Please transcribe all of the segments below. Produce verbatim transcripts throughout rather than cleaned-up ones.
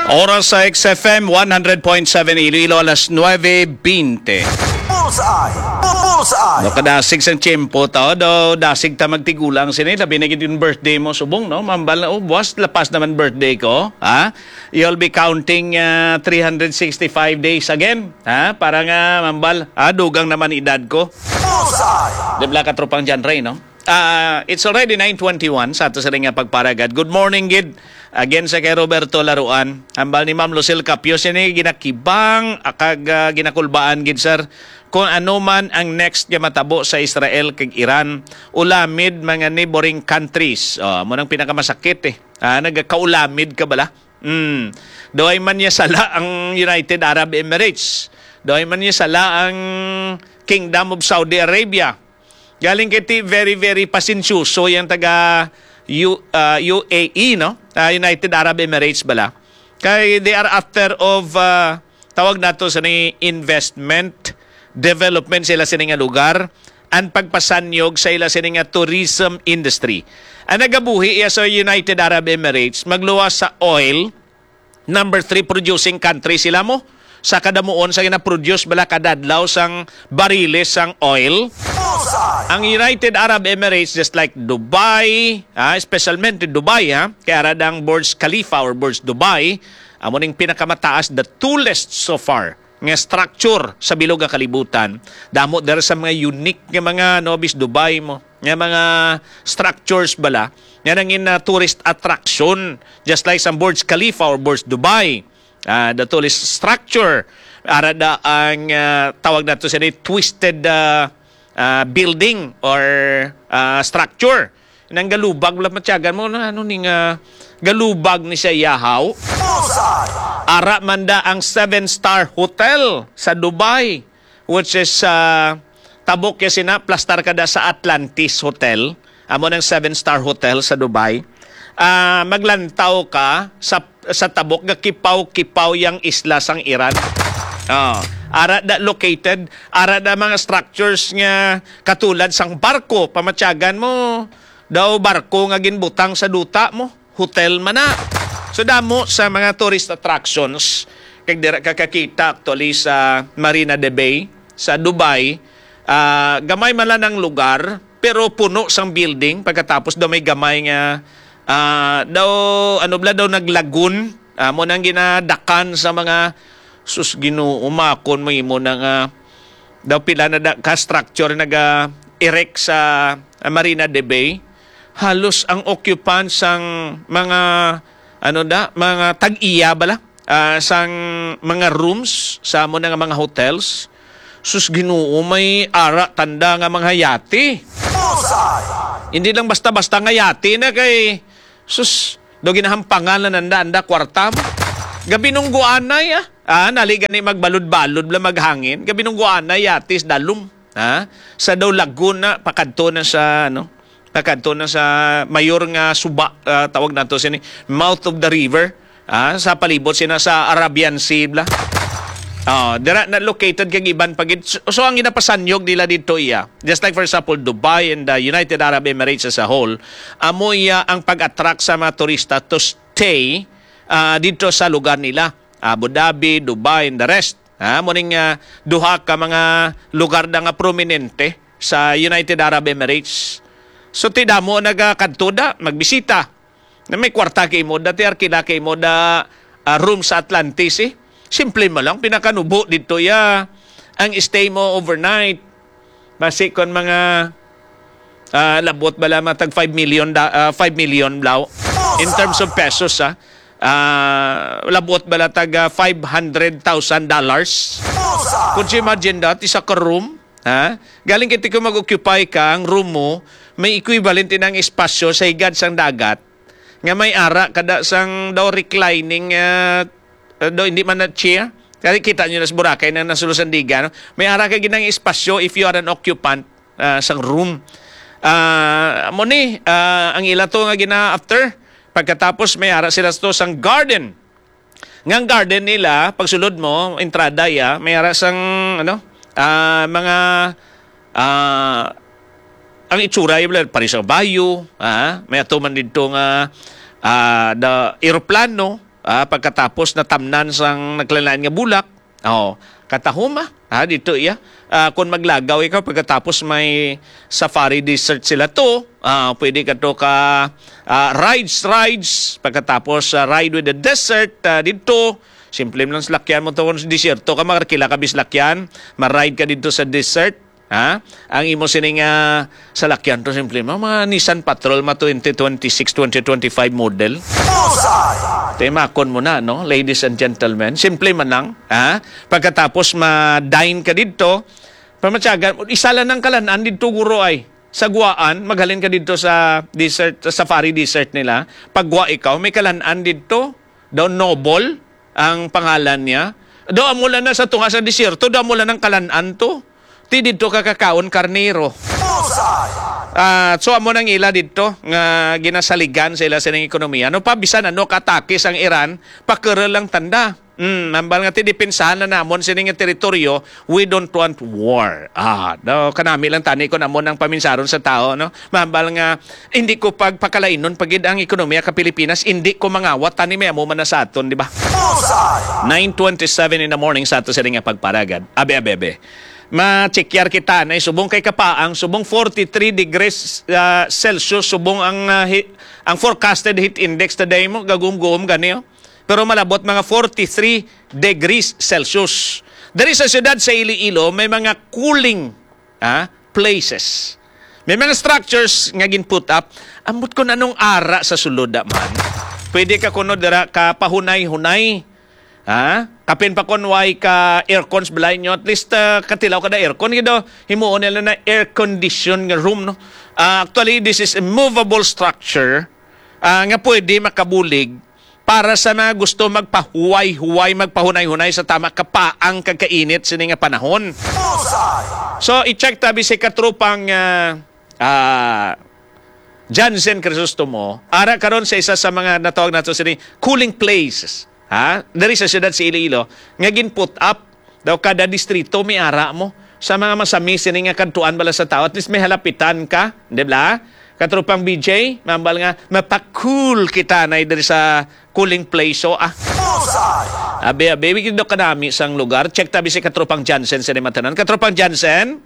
Oras sa X F M one hundred point seven Iloilo, alas nuebe bente. Bullseye! Bullseye! No, kadasig sang tiyempo, tao daw, dasig ta magtigulang sini, labi na gid yung birthday mo, subong, no? Mambal na, "Oh, buwas, lapas naman birthday ko," ha? You'll be counting, ah, three hundred sixty-five days again, ha? Para nga, mambal, ah, dugang naman edad ko. Bullseye! Di bala, katropang John Ray, no? Ah, it's already nine twenty-one sa ato sa nga pagparagad. Good morning, gid. Again sa kay Roberto Laruan. Hambal ni Ma'am Lucille Capio, sini ginakibang, ah, kag, ah, ginakulbaan, gid, sir. Kung ano man ang next nga matabo sa Israel kag Iran, ulamid mga neighboring countries. Oh, amo nang pinakamasakit, eh. Ah, nagakaulamid ka bala? Mm. Daw ay man niya sala ang United Arab Emirates. Daw ay man niya sala ang Kingdom of Saudi Arabia. Galing kay ti very, very pasensyoso yang taga U-, ah, U A E, no? Ah, United Arab Emirates bala. Kay they are after of, ah, tawag nato sa ni investment, development sila sini nga lugar, and pagpasanyog sa ila sini nga tourism industry. Ang nagabuhi iya sa United Arab Emirates, magluwas sa oil, number three producing country sila mo. Sa kadamuon sa gina-produce bala kadadlaw sang bariles sang oil. Ang United Arab Emirates, just like Dubai, ah, especialmente Dubai, ha, kay ara dang Burj Khalifa or Burj Dubai, amo ning pinakamataas, the tallest so far, nga structure sa bilog nga kalibutan. Damo dira sa mga unique nga mga, no, bis Dubai mo, nga mga structures bala, nga nangin, ah, tourist attraction, just like sa Burj Khalifa or Burj Dubai. Ah, the tallest structure, ara da ang, ah, tawag nato sa ni twisted, ah, ah, building or, ah, structure. Nang galubag, wala matyagan mo, na ano ni nga galubag ni siya, yahaw? Bullseye! Ara man da ang seven-star hotel sa Dubai, which is, ah, tabok ya sina, plastar ka da sa Atlantis Hotel. Amo nang seven-star hotel sa Dubai. Ah, maglantaw ka sa, sa tabok nga kipaw-kipaw yang isla sang Iran. Oh, ara da located, ara da mga structures nga katulad sang barko, pamatyagan mo, daw barko nga ginbutang sa duta mo, hotel man na. So, damo sa mga tourist attractions, kag dira ka kakita actually sa Marina de Bay, sa Dubai, ah, gamay man lang ang lugar, pero puno sang building. Pagkatapos daw may gamay nga, ah, daw, ano bala, daw naglagun, ah, mo nang ginadakan sa mga, sus, Ginoo, makon mo imo na nga, daw pila na da, ka structure naga-erect sa, ah, Marina de Bay. Halos ang occupants sang mga, ano da, mga tag-iya bala, ah, sang mga rooms sa amo na nga mga hotels. Sus, Ginoo, may ara tanda nga mga yate. Bullseye! Hindi lang basta-basta nga yate na kay, sus, do ginahampangan na nanda, anda kwarta mo. Gabinungguanay, ah. Ah, nali gani magbalod-balod bala maghangin. Gabinungguanay, yatis dalom. Ha? Sa daw Laguna, pakadto na sa, ano, pakadto na sa mayor nga suba, ah, tawag nato sini, mouth of the river. Ah, sa palibot sina sa Arabian Sea bala. Oh, dira na located kag iban pa gid. So, so ang ginapasanyog nila dito iya, just like for example Dubai and the United Arab Emirates as a whole, amo iya ang pag-attract sa mga turista to stay, ah, dito sa lugar nila. Abu Dhabi, Dubai, and the rest. Ah, mo ning, ah, duha ka mga lugar na nga prominente sa United Arab Emirates. So, ti damo nagakadto da, magbisita. Na may kwarta kay mo, dati arkila kay mo da, ah, room sa Atlantis, eh. Simple mo lang, pinakanubo dito ya ang stay mo overnight. Basi kon mga, ah, labot bala matag five million da-, ah, five million blaw. In terms of pesos, ah, ah, labot bala tag, ah, five hundred thousand dollars. Could you imagine that? Isa ka room, ha? Galing kiti ko mag-occupy ka, ang room mo, may equivalent din ang espasyo sa higad sang dagat. Nga may ara kada sang daw reclining, ah, ah, daw hindi man na chair. Kaya kita nyo na sa Boracay na nasulo Sandigan, no? May ara ka ginang espasyo if you are an occupant, ah, sang room. Ah, amo ni, ah, ang ila to nga gina-after. Pagkatapos may ara sila to sang garden. Nga ang garden nila, pagsulod mo, entrada ya, may ara sang, ano, ah, mga, ah, ang itsura, yung pare sa bayo, ah, may ato man dito nga, ah, the eroplano, ah, pagkatapos natamnan sang naglain-lain nga bulak, oh, katahuma, ha, dito iya. Ah, kung maglagaw ikaw, pagkatapos may safari desert sila to, ah, pwede ka to ka, ah, rides, rides, pagkatapos, ah, ride with the desert, ah, dito, simple lang salakyan mo to, kung desierto ka, makarkila ka bislakyan, ma-ride ka dito sa desert, ha? Ang imo sining, ah, salakyan to, simple mo, mga Nissan Patrol, mga twenty twenty-six, twenty twenty-five model. Bullseye! Timakon mo na, no? Ladies and gentlemen, simple man lang, ha? Pagkatapos ma-dine ka dito, pamatyagan, isa lang ang kalan-an dito, guro, ay. Sa Guaan, maghalin ka dito sa desert, sa safari desert nila. Pagwa ikaw, may kalan-an dito, daw Noble ang pangalan niya. Daw amo lang na sa tunga sa desierto, daw amo lang ang kalan-an to. Ti didto ka kakaon karnero. Bullseye! Ah, so amo nang ila didto nga ginasaligan sa ila sining ekonomiya. No pa bisan ano katakis ang Iran, pakero lang tanda. Mm, hambal nga ti depensahan na namon sini nga teritoryo, we don't want war. Ah, no, kanami lang tani kon amo nang paminsaron sa tao, no? Mahambal nga hindi ko pagpakalainon pa gid ang ekonomiya ka Pilipinas, hindi ko mangawat tani may amo man na sa aton, di ba? Bullseye! Nine twenty-seven in the morning sa ato sini nga pagparagad. Abe, abe, abe. Ma-check yar kita na subong kay kapaang, subong forty-three degrees, ah, Celsius, subong ang, ah, hi-, ang forecasted heat index today mo, gagum-gum gani, oh. Pero malabot mga forty-three degrees Celsius. Diri sa siyudad sa Iloilo, may mga cooling, ah, places. May mga structures nga gin-put up. Ambot kung anong ara sa sulod, ah, man. Pwede ka kuno dira ka pahunay-hunay. Ha? Kapin pa kon way ka aircon sa balay nyo, at least, ah, katilaw ka na aircon, gid, oh. Himuon nila na air condition nga room, no? Ah, actually, this is a movable structure, ah, nga pwede makabulig para sa mga gusto magpahuway-huway, magpahunay-hunay sa tama kapaang kag kainit sini nga panahon. Bullseye! So, i-check ta bisi katropang, ah, ah, Jansen Crisostomo, ara karon sa isa sa mga natawag nato sini cooling places, ha? Diri sa siyudad sa Iloilo, nga gin-put up daw kada distrito may ara mo sa mga masami sini nga kadtuan bala sa tao. At least may halapitan ka, di ba? Katropang B J, mambal nga, mapakool kita na diri sa cooling place, so, ah. Bullseye! Abi, abi, wikid do kanami sang lugar. Check tabi si Katropang Jansen sa Limatanan. Katropang Jansen?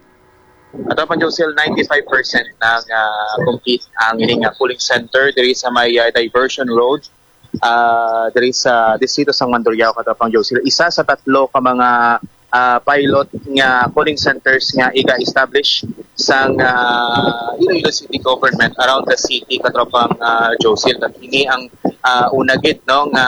Katropang Josel, ninety-five percent na nga complete ang ini nga cooling center diri sa may, ah, Diversion Road, ah, diri sa distrito sang Mandurriao, Katropang Josel. Isa sa tatlo ka mga, ah, pilot nga cooling centers nga iga-establish sang, ah, Iloilo City Government around the city, Katropang, ah, Josel. Kag ini ang, ah, una gid, no, nga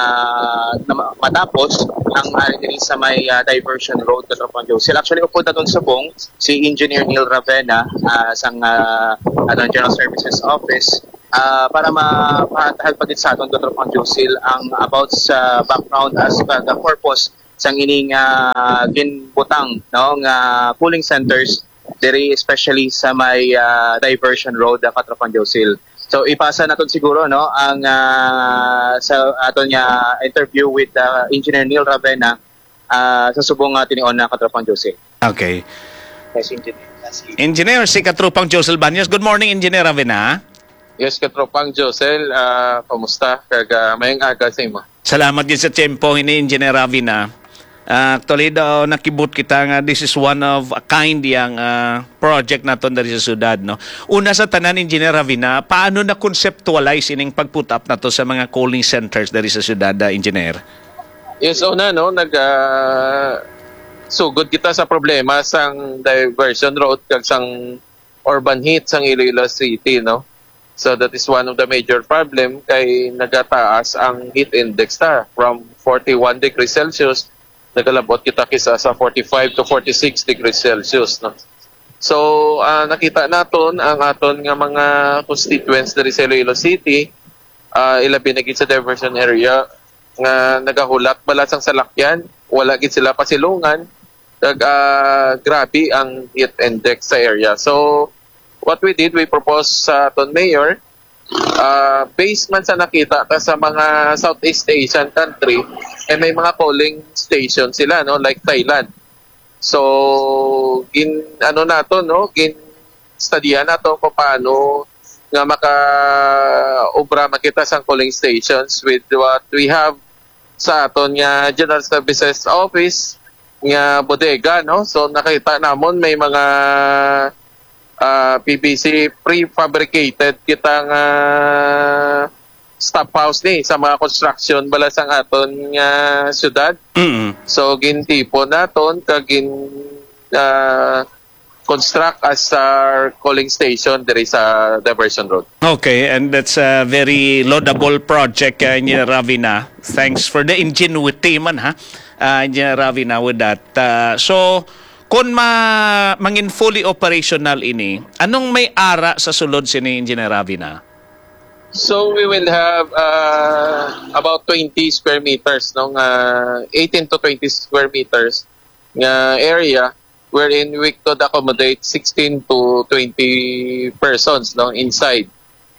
na ma-, matapos ang ari diri sa may, ah, Diversion Road, Katropang Josel. Actually, upod naton subong si Engineer Neil Ravena, ah, sang, ah, aton General Services Office, ah, para ma-, mahatag pa gid sa aton, Katropang Josil, ang about sa background as pa the purpose sang ining, ah, ginbutang, no, nga cooling centers diri, especially sa may, ah, Diversion Road, ah, Katropang Josil. So, ipasa naton siguro, no, ang, ah, sa aton nga interview with, ah, Engineer Neil Ravena, ah, sa subong nga tinion na, Katropang Jose. Okay. Yes, Engineer. Engineer, si Katropang Josel Banyas. Good morning, Engineer Ravena. Yes, Katropang Josel, ah, kumusta? Kag, ah, mayong aga sa imo. Salamat gid sa tiyempo ini, Engineer Ravena. Ah, actually daw, nakibot kita nga this is one of a kind yang, ah, project naton diri sa syudad, no? Una sa tanan, Engineer Ravena, paano na-conceptualize ining pag-put up nato sa mga cooling centers diri sa syudad, ah, Engineer? Yes, una, no, nag, ah, sugod kita sa problema sang Diversion Road kag sang urban heat sang Iloilo City, no? So that is one of the major problem kay nagataas ang heat index ta from forty-one degrees Celsius, nagalabot kita kisa sa forty-five to forty-six degrees Celsius, no? So, ah, nakita naton ang aton nga mga constituents diri sa Iloilo City, ah, ilabi na gid sa Diversion area nga nagahulat bala sang salakyan, wala gid sila pasilungan, kag, ah, grabe ang heat index sa area. So, what we did, we proposed sa aton mayor, ah, based man sa nakita ta sa mga Southeast Asian country, eh, may mga cooling station sila, no, like Thailand. So, gin-, ano nato, no, gin-studihan nato kung paano nga maka-obra man kita sang cooling stations with what we have sa aton nga General Services Office nga bodega, no? So, nakita namon may mga, ah, P V C prefabricated kita nga stop house ni sa mga construction bala sang aton nga syudad. Mm. So, gintipon naton kag gin, ah, construct as our cooling station diri sa Diversion Road. Okay, and that's a very laudable project, uh, Engineer Ravina. Thanks for the ingenuity man, ha, uh, Engineer Ravina, with that. Uh, so, kung ma mangin fully operational ini, anong may ara sa sulod sini, Engineer Ravina? So we will have, uh, about twenty square meters, no, nga eighteen to twenty square meters nga area wherein we could accommodate sixteen to twenty persons, no, inside.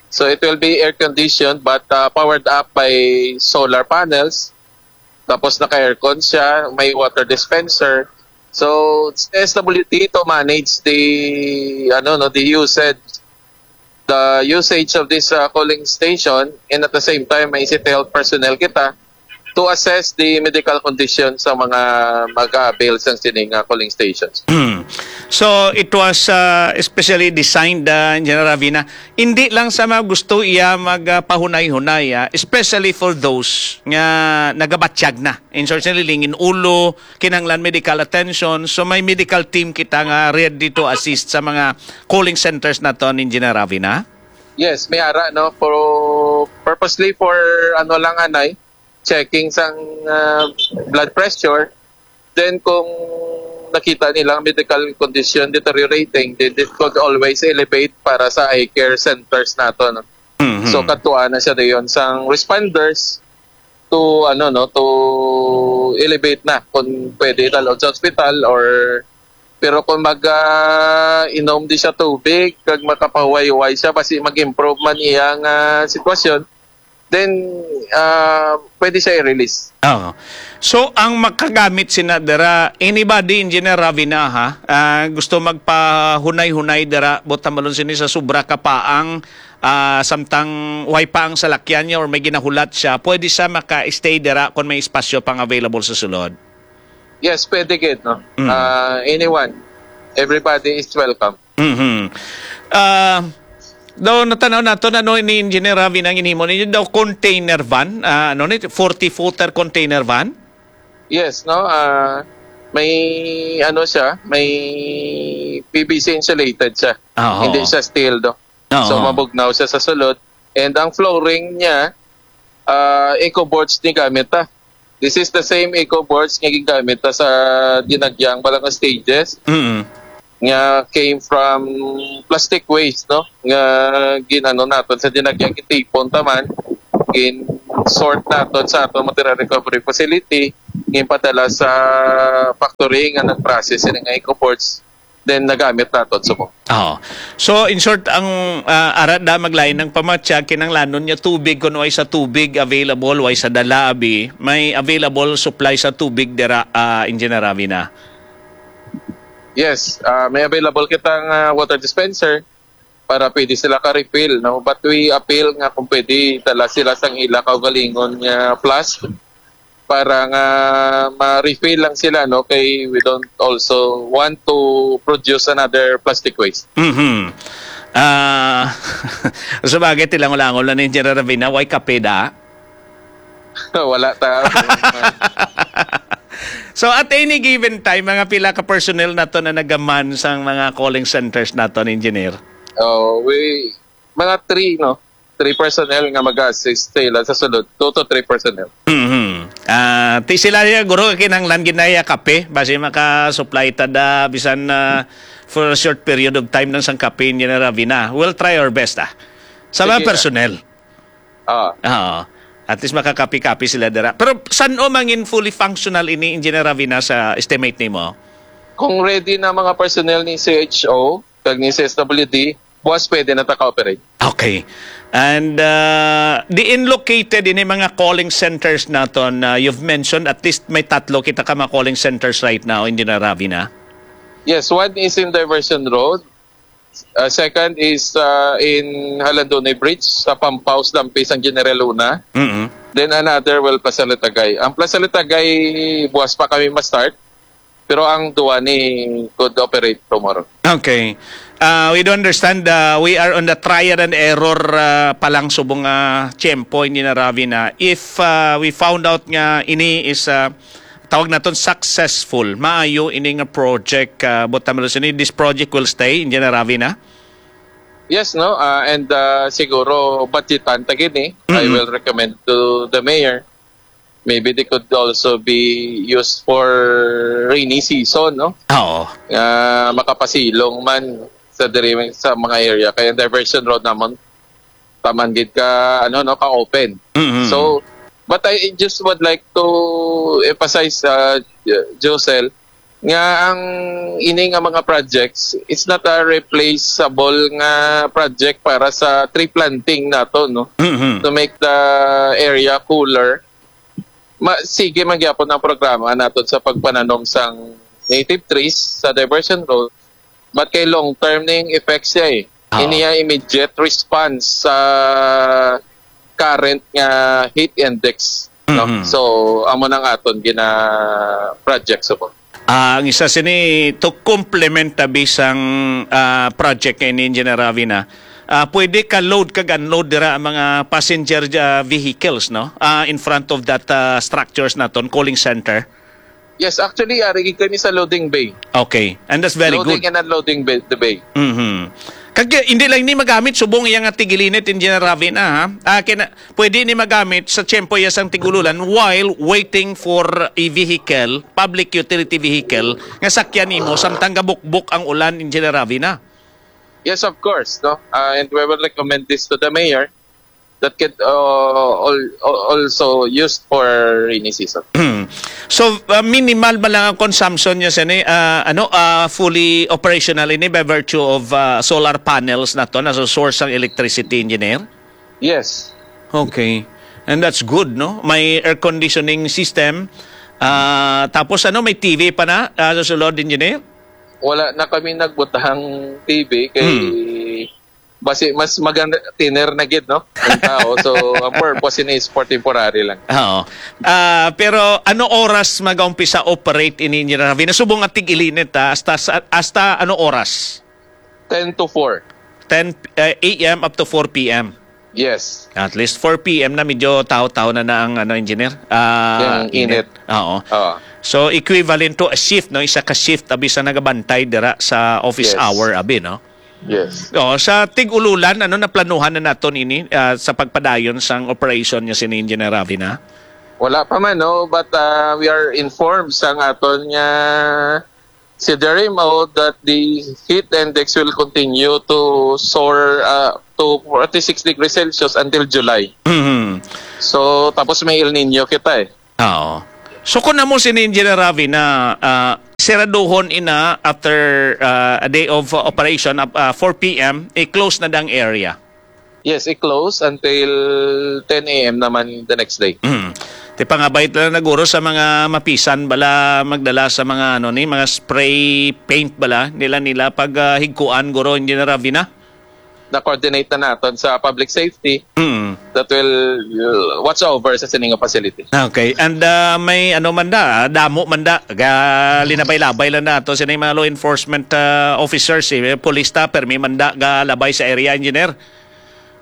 So it will be air conditioned but, uh, powered up by solar panels. Tapos naka-aircon siya, may water dispenser. So it's S W D to manage the, ano, no, the usage, the usage of this, uh, cooling station, and at the same time may C T L personnel kita to assess the medical condition sa mga mag-avail sang sining, uh, cooling stations. So, it was, uh, especially designed, uh, Engineer Ravina, hindi lang sa mga gusto iya magpahunay-hunay, ah, especially for those nga nagabatyag na. In short, nalilingin ulo, kinahanglan medical attention. So, may medical team kita nga ready to assist sa mga cooling centers naton, Engineer Ravina? Yes, may ara, no, for purposely for, ano lang, anay, checking sang, ah, blood pressure. Then kung nakita nila ang medical condition deteriorating, then it could always elevate para sa eye care centers nato, no? Mhm. So, kadtuan na siya dayon sang responders to, ano, no, to elevate na kung pwede dalhon sa ospital or, pero kung mag, ah, inom di siya tubig kag makapahuway-huway siya, basi mag-improve man iyang, ah, sitwasyon, then, ah, pwede siya i-release. Oo. So, ang makagamit sina dira, anybody, Engineer Ravina, ha? Ah, gusto magpahunay-hunay dira, buot hambalon sini sa sobra ka paang, ah, samtang way pa ang salakyan niya or may ginahulat siya, pwede siya maka-stay dira kung may espasyo pang available sa sulod? Yes, pwede gid, no? Mm. Ah, anyone, everybody is welcome. Mhm. Ah, daw natanaw nato na, no, ni Engineer Ravi nang inhimo ninyo daw container van, ah, ano ni, forty footer container van? Yes, no? Ah, may ano siya, may P V C insulated siya. Ah, oo. Hindi siya steel, do. Oo. So, mabugnaw siya sa sulod. And ang flooring niya, ah, eco boards ni gamit, ah. This is the same eco boards nga gigamit, ah, sa Dinagyang Balanga Stages. Mm. Nga came from plastic waste, no? Nga ginano naton sa Dinagyang, gintipon taman, gin-sort naton sa aton material recovery facility, ginpadala sa factory nga nag-process sini nga eco boards, then nagamit naton subong. Oo. So, in short, ang, ah, ara da maglain ang pamatyag, kinanglanon niya tubig, kung way sa tubig available, way sa dala, abi, may available supply sa tubig dira, ah, Engineer Ravi na? Yes, ah, may available kitang, ah, water dispenser para pwede sila ka-refill, no? But we appeal nga kung pwede, dala sila sang ila kaugalingon nga flask para nga ma-refill lang sila, no? Kay we don't also want to produce another plastic waste. Mhm. Ah, sa bagay, tilangon-langon lang ni Engineer Ravina, way kape da? Wala ta. So, at any given time, mga pila ka personnel nato na nagaman sang mga calling centers nato, Engineer? Oh, we, mga three, no? Three personnel nga mag-assist sa ila sa sulod. Two to three personnel. Mhm. Ah, ti sila niya, guro, kinahanglan gid na iya kape, basi maka-supply ta da, bisan, ah, for a short period of time lang sang kape, Engineer Ravina. We'll try our best, ah. Sa mga Sige, ah. personnel. Ah. Oo. At least makakapi-kapi sila dira. Pero san-o mangin fully functional ini, Engineer Ravina, sa estimate nimo? Kung ready na mga personnel ni C H O, kag ni C S W D, buwas pwede na ta ka-operate. Okay. And, uh, diin located ini mga calling centers naton? Uh, you've mentioned at least may tatlo kita ka mga calling centers right now, Engineer Ravina. Yes, one is in Diversion Road. Uh, second is, uh, in Jalandonay Bridge, sa pump house lampi sang General Luna. Mm-mm. Then another, well, Plaza Litagay. Ang Plaza Litagay, buwas pa kami ma-start. Pero ang duwa ni could operate tomorrow. Okay. Uh, we do understand, uh, we are on the trial and error, uh, pa lang subong, uh, tiyempo, Engineer Ravi, na if, uh, we found out nga ini is, uh, tawag naton successful, maayo ini nga project, uh, but, um, this project will stay, Engineer Ravi, na? Yes, no? Uh, and, uh, siguro budgetan ta gid ni. I Mm-hmm. will recommend to the mayor. Maybe they could also be used for rainy season, no? Oo. Nga makapasilong man sa diri, sa mga area. Kaya diversion road namon, taman gid ka, ano, no, ka open. Mm-hmm. So, but I just would like to emphasize, uh, Josel, nga ang ini nga mga projects, it's not a replaceable nga project para sa tree planting nato, no? Mm-hmm. To make the area cooler. Ma-, sige man gyapon ang programa naton sa pagpananom sang native trees sa diversion road, but kay long term ning effects siya eh. Oo. Ini ang immediate response sa current nga heat index, no? Mhm. So, amo nang aton gina project subong. Ah, ang isa sini to complement ta bisang, ah, project kay ni Engineer Ravi na, ah, pwede ka load kag unload dira ang mga passenger, ah, vehicles, no? Ah, in front of that, ah, structures naton, cooling center. Yes, actually, ari gid kami sa loading bay. Okay. And that's very Loading good. and unloading bay, the bay. Mhm. Kag, eh, hindi lang ni magamit subong iya nga tig-ilinit, Engineer Ravi na, ha? Ah, kina-, pwede ni magamit sa tiyempo iya sang tig-ululan while waiting for a vehicle, public utility vehicle, nga sakyan nimo samtang gabukbok ang ulan, Engineer Ravi na. Yes, of course, no? Uh, and we will recommend this to the mayor that could, uh, al-, al-, also used for rainy season. So, uh, minimal ba lang ang consumption niya sini, uh, ano, uh, fully operational ini by virtue of, uh, solar panels na to, na so source ang electricity, Engineer? Yes. Okay. And that's good, no? May air conditioning system. Ah, tapos ano, may T V pa na, ah, sa sulod, Engineer? Wala na kami nagbutang T V kay Hmm. basi mas maganda, thinner na gid, no? Ang tao. So, ang purpose ini is for temporary lang. Oo. Ah, pero ano oras mag-umpisa operate ini, Engineer Ravi? Subong nga tig-ilinit, ha? Hasta sa, hasta ano oras? Ten to four. Ten, eh, A M up to four P M. Yes. At least four P M na, medyo taho-taho na na ang, ano, Engineer. Ah, Yung init. Oo. Oo. So, equivalent to a shift, no? Isa ka shift, abi, sa nagabantay dira sa office Yes. hour, abi, no? Yes. Oo, sa tig-ululan, ano, naplanuhan na naton ini, ah, sa pagpadayon sang operation niya sini, Engineer Ravi, na? Wala pa man, no? But, ah, we are informed sang aton nga C D R M O that the heat index will continue to soar, uh, to forty-six degrees Celsius until July. Mhm. So, tapos may El Nino kita eh. Oo. So, kung amo sini, Engineer Ravi, na, ah, seraduhon ina after, ah, a day of operation, ah, four P M, i-close na dang area. Yes, i-close until ten A M naman the next day. Mm. Ti pangabay lang na guro sa mga mapisan bala magdala sa mga ano ni, mga spray paint bala nila nila pag, ah, higkuan guro, Engineer Ravina. Na-coordinate na naton sa public safety Mm. that will, will watch over sa sining nga facility. Okay. And, ah, may ano man da, ah, damo man da, ga, linabay-labay lang nato sining mga law enforcement, ah, officers, eh, police ta, permi man da ga labay sa area, Engineer.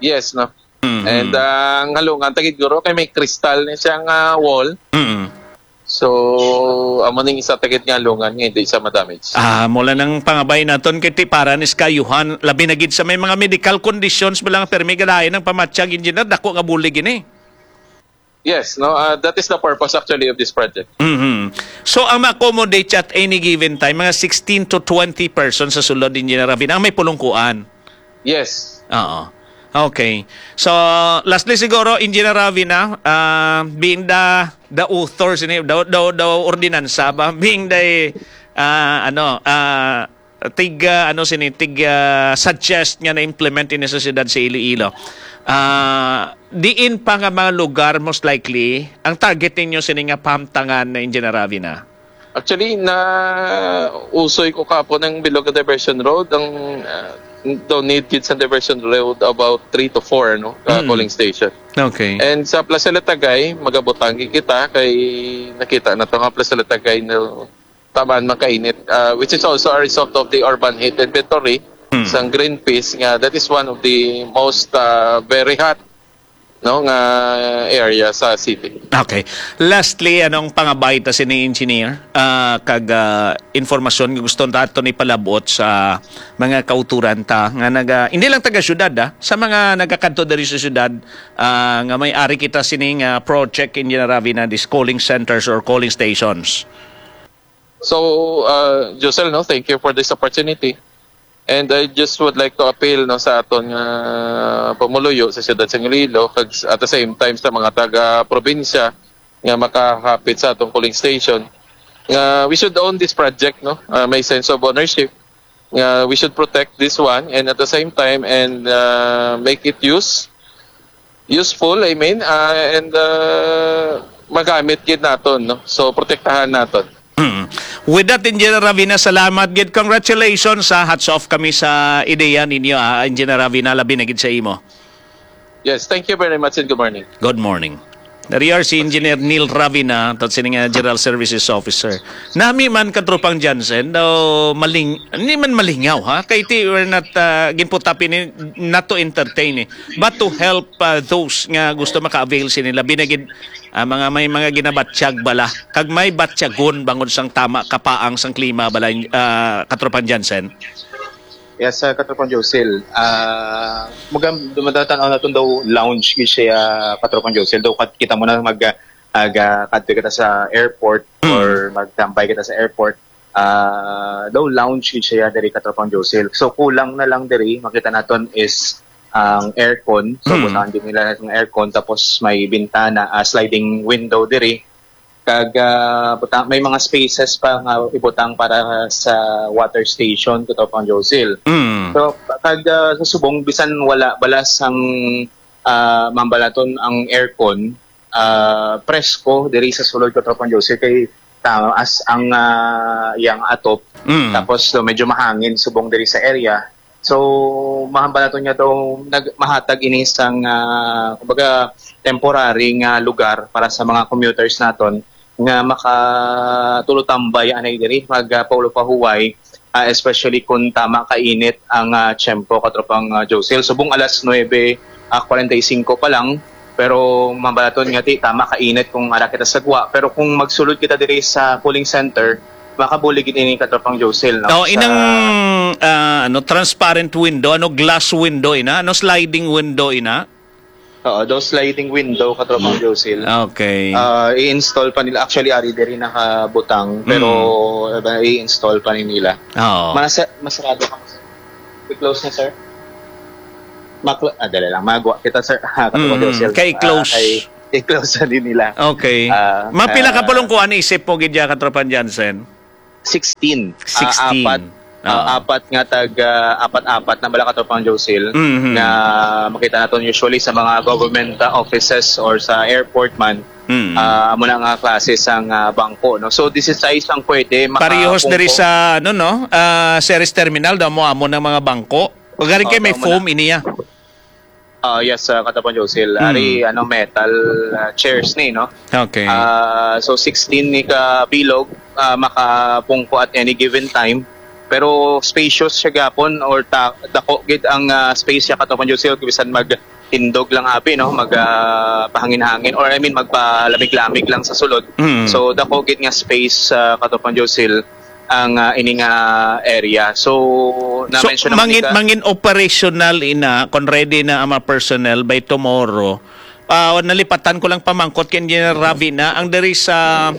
Yes, no? Mhm. And, ah, ang halungan ta gid guro kay may kristal ni siya nga wall. Mhm. So, amo ning isa ta gid nga halungan nga hindi siya ma-damage. Ah, mula nang pangabay naton kay ti para ni sa kayuhan, labi na gid sa may mga medical conditions, bala nga permi galain ang pamatyag, Engineer, dako nga bulig ini. Yes, no? Ah, that is the purpose actually of this project. Mhm. So, ang ma-accommodate siya at any given time, mga sixteen to twenty persons sa sulod, Engineer Ravina, ang may pulungkuan. Yes. Oo. Okay. So, lastly siguro, Engineer Ravina, ah, being the, the author sini, the, the, the ordinansa ba? Being the, ah, ano, ah, tig, ah, ano sini, tig, ah, suggest nga na-implement ini sa siyudad sa Iloilo. Ah, diin pa nga mga lugar most likely ang target ninyo sini nga pahamtangan na, Engineer Ravina? Actually, na usoy ko kapo ng Bilog Diversion Road, ang, ah, daw need gid sa diversion road about three to four, no, uh, Mm. polling station. Okay. And sa Plaza Latagay, magabutang gid kita kay nakita nato nga Plaza Latagay, no, taman makainit, uh, which is also a result of the urban heat inventory Mm. sang Greenpeace, nga that is one of the most, uh, very hot, no, nga area sa city. Okay. Lastly, anong pangabay ta sini, engineer? Ah, kag, ah, informasyon nga gusto nato ni palabot sa mga kauturan ta nga naga, hindi lang taga syudad, ah, sa mga nagakadto diri sa syudad, ah, nga may ari kita sini nga project in Generavi na these calling centers or calling stations. So, uh, Josel, no, thank you for this opportunity. And I just would like to appeal, no, sa aton nga pumuluyo sa siyudad sa Iloilo, kag s-, at the same time sa mga taga-probinsya nga makahapit sa atong polling station, nga we should own this project, no? Uh, may sense of ownership, nga we should protect this one, and at the same time, and, uh, make it use useful, I mean, uh, and, uh, magamit gid naton, no? So, protektahan naton. Mm. With that, Engineer Ravina, salamat gid. Congratulations, ha. Hats off kami sa ideya ninyo, ha, Engineer Ravina, labi na gid sa imo. Yes, thank you very much and good morning. Good morning. Nariar si Engineer Neil Ravina, tat sini nga General Services Officer. Nami man, Katropang Jansen, daw maling-, hindi man malingaw, ha? Kay ti, we're not, uh, ginputapi ni, not to entertain, eh, but to help, uh, those nga gusto maka-avail sini, labi na gid, uh, mga, may mga ginabatyag bala, kag may batyagon bangod sang tama kapaang sang klima bala, uh, Katropang Jansen. Yes, uh, Katropang Josil. Uh, magam-, dumadatan-aw naton daw lounge gid siya, Katropang Josil. Daw kat-, kita mo na mag, uh, aga-, kadto kita sa airport Mm. or magtambay kita sa airport. Ah, daw lounge gid siya diri, Katropang Josil. So, kulang na lang diri, makita naton is ang aircon. So, Mm. butangan din nila ang aircon, tapos may bintana, ah, sliding window diri. Kag, ah, buta-, may mga spaces pa nga ibutang para sa water station, Katropang Josil. Mm. So, kag, ah, sa subong, bisan wala balas ang, ah, mambalaton ang aircon, ah, presko diri sa sulod, Katropang Josil, kay taas ang, ah, iyang atop. Mm. Tapos, so, medyo mahangin subong diri sa area. So, mahambal naton nga daw nag-, mahatag ini sang, ah, kumbaga, temporary nga lugar para sa mga commuters naton nga makatulotambay anay diri, mag, ah, paulo pahuway, ah, especially kung tama kainit ang, ah, tiyempo, Katropang, ah, Josil. Subong alas nuebe, ah, kwarenta y singko pa lang, pero mambalaton nga ti tama kainit kung ara kita sa gwa. Pero kung magsulod kita diri sa polling center, makabulig gid ini, Katropang Josil, no? Oh, sa inang, ah, ano, transparent window, ano, glass window ina, ano, sliding window ina? Oo, those sliding window, Katropang Josil. Okay. Ah, i-install pa nila. Actually, ari diri nakabutang, pero, Mm. ah, i-install pa ni nila. Oo. Mas-, masarado ka. I-close na, sir. Maklo-, ah, dali lang. Magwa kita, sir. Katropang Mm, Josil. Kay Ah, close. Kay i-close na din nila. Okay. Ah, Mapila ka ah, pulong kuan isip mo gid ya, Katropang Jansen? Sixteen. Ah, Sixteen. Apat, ah, Oo. apat nga tag, ah, apat-apat na bala, Katropang Josil, Mhm. nga makita naton usually sa mga government, ah, offices or sa airport man. Mm. Ah, amo na nga klase sang, ah, bangko, no? So, this is size ang pwede Parehos diri makapungko. Sa, ano, no? Ah, Ceres Terminal, daw mo amo ng mga bangko. O, galing Oo, kay may daw mo foam na. Iniya. Ah, yes, ah, Katropang Josil. Mm. Ari, ano, metal, ah, chairs ni, no? Okay. Ah, so, sixteen ni ka bilog, ah, makapungko at any given time. Pero spacious siya gapon or ta-, dako gid ang, ah, space siya, Katropang Josil, bisan magtindog lang abi, no? Mag, ah, pahangin-hangin, or I mean, magpalamig-lamig lang sa sulod. Mm. So, dako gid nga space, ah, Katropang Josil, ang, ah, ini nga area. So, So, na-mention naman mangin, ni ka- mangin operational ina, kung ready na ang mga personnel by tomorrow. Ah, nalipatan ko lang pamangkot kay Engineer Ravi na ang diri sa,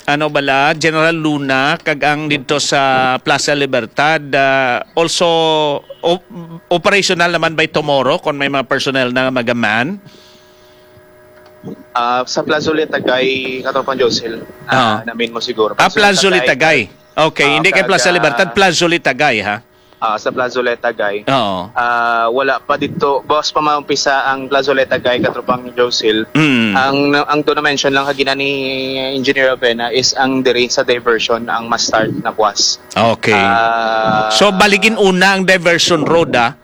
ano bala, General Luna, kag ang dito sa Plaza Libertad, ah, also op-, operational naman by tomorrow kung may mga personnel na magaman. Ah, sa Plaza Ulit, Tagay, Katropang Josil, ah, Oo. namin mo siguro. Ah, Plaza Ulit, Plaza Ulit, Tagay. Tagay. Okay, Ah, hindi kay Plaza Plaza Libertad, Plaza Ulit, Tagay, ha? Ah, sa Plazoleta, Guy. Oo. Ah, wala pa dito. Bawas pa maumpisa ang Plazoleta, Guy, katropang Josil. Mm. Ang ang to na-mention lang kagina ni Engineer Avena is ang diri sa diversion ang ma-start na buwas. Okay. Ah, So, baligin una ang diversion road, ah.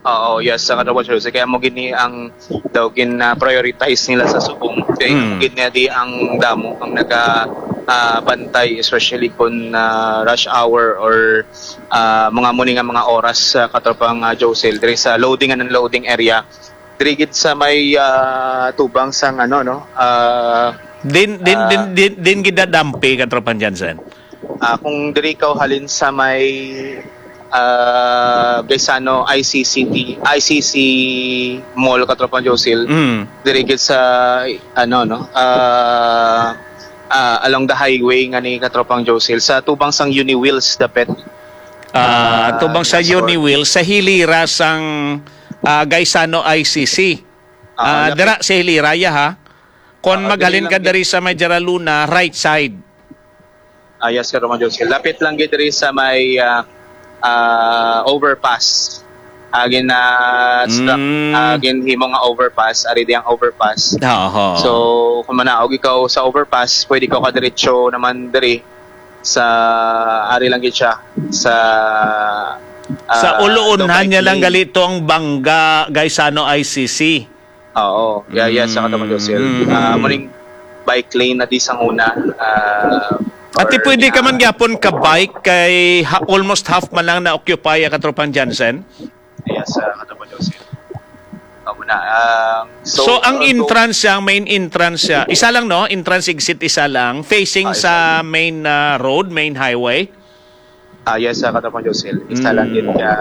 Oo, yes, sa Katropang Josil. Kaya mo gini ang daw gin-prioritize nila sa subong. Kaya Mm. mo gini di ang damo ang naga ah, bantay, especially kung ah, rush hour or ah, mga muni nga mga oras sa Katropang ah, Josil. Diri sa loading and unloading area. Diri gid sa may ah, tubang sang ano, no? Ah, Din din Ah. din din, din gidadampi, Katropang Jansen. Ah, kung diri ka halin sa may ah, Gaisano I C C T, I C C Mall, Katropang Josil, Mm. diri gid sa ano, no, ah, ah, along the highway nga ni, Katropang Josil, sa tubang sang Uniwheels dapit. Ah, Ah, tubang sa yes, Lord. Uniwheels sa hilira sang ah, Gaisano I C C. Ah, Ah, lapit. Dira sa hilira, ha. Kon Ah, maghalin diri ka lang diri sa may Jaraluna, right side. Ah, yes, Katropang Josil. Lapit lang gid diri sa may ah, ah, overpass. Agin na Mm. agin himo nga overpass, ari di ang overpass. Oho. So, kung manaog ikaw sa overpass, pwede ka kadiretso naman diri sa ari lang gid siya sa Sa ah, uluunhan daw bike niya lang lane. Gali to ang Bangga Gaisano I C C. Oo, yeah, yes, sa Katropang Josil. Mm. Ah, muning bike lane na di sang una. Ah, Ati or, pwede ka ah, man gyapon ka bike kay ha, almost half man lang na occupy ang Katropang Jansen. Yes, sa Katropang Josil. Amo na. Ah, So, ang ah, entrance siya, ang main entrance siya, isa lang, no? Entrance exit isa lang, facing Ah, isa sa main ah, road, main highway. Ah, yes, sa Katropang Josil. Isa lang Mm. din ka